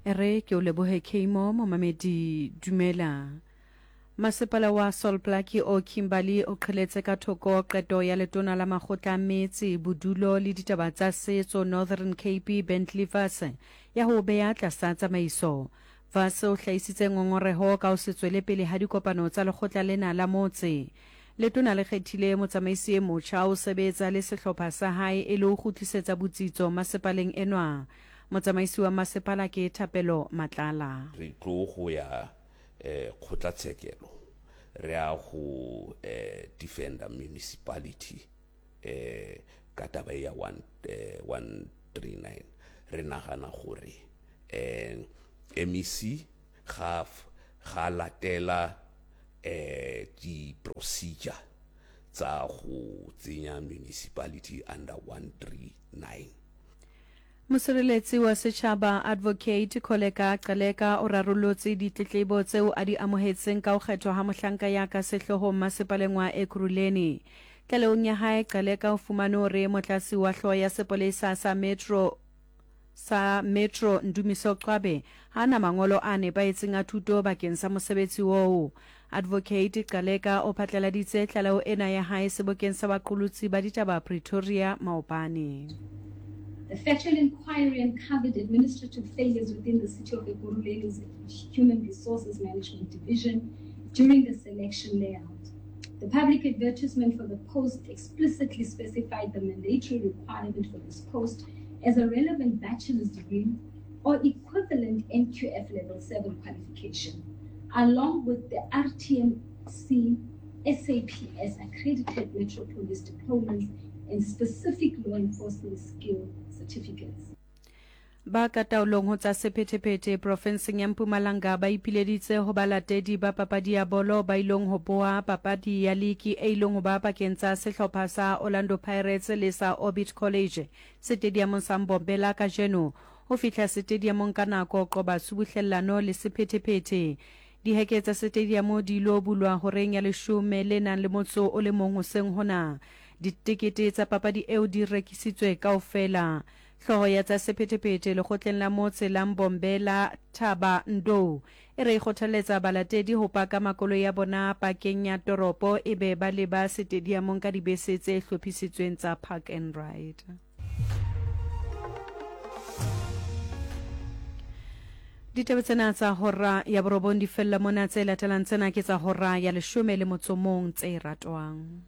E re ke o lebohe Kmo momamedi dumela. Masepala wa Sol Plaatje o Kimberley o qheletse ka thoko qeto ya letona la makgotla a metse, bodulo le ditaba tsa setso Northern Cape Bentley Vass ya ho o beya tlasa tsamaiso. Vass o hlahisitse ngongoreho ka ho se tswele pele ha dikopano tsa lekgotla lena la motse. Letona le kgethile motsamaisi e motjha ho sebetsa le sehlopha sa hae e le ho kgutlisetsa botsitso masepaleng enwa. Motsamaisi wa masepala ke Thapelo Matlala. Re tlo go ya kgotlatshekelo re ya go defender municipality ka taba e ya 139. Re nagana gore MEC ga ga latela di procedure tsa go tsenya municipality under 139. Mosireletsi wa setšhaba Advocate Kholeka Gcaleka o rarollotse ditletlebo tseo a di amohetseng ka ho kgethwa ha mohlanka ya ka sehloohong masepaleng wa Ekurhuleni. Tlalehong ya hae, Gcaleka o fumane hore motlatsi wa hlooho ya sepolesa sa Metro sa Metro Ndumiso Qwabe ha a na mangolo a nepahetseng a thuto bakeng sa mosebetsi oo. Advocate Gcaleka o phatlaladitse tlaleho ena ya hae sebokeng sa baqolotsi ba ditaba Pretoria maobane. The factual inquiry uncovered administrative failures within the City of Ekurhuleni's Human Resources Management Division during the selection layout. The public advertisement for the post explicitly specified the mandatory requirement for this post as a relevant bachelor's degree or equivalent NQF level 7 qualification, along with the RTMC SAPS accredited Metro Police diplomas and specific law enforcement skill certificates. Ba ka taolong ho tsa sephethephethe profenseng ya Mpumalanga ba ipileditse ho balatedi ba papadi ya bolo ba ilong ho boha papadi ya liki e ilong ho ba pakeng tsa sehlopha sa Orlando Pirates le sa Orbit College setediamong sa Mbombela kajeno ho fihla setediamong ka nako qoba tshubuhlellano le sephethephethe. Diheke tsa setediamo di ilo bulwa horeng ya leshome le nang le motso o le mong hoseng hona. Ditekete tsa papadi eo di rekisitswe kaofela. Hlooho ya tsa sephethephethe lekgotleng la motse la Mbombela, Thaba Ndou, e re e kgothalletsa balatedi ho paka makoloi a bona pakeng ya toropo ebe ba leba setediamong ka dibese tse hlophisitsweng tsa park and ride. Ditaba tsena tsa hora ya borobong di fella mona, tse latelang tsena ke tsa hora ya leshome le motso mong tse ratwang.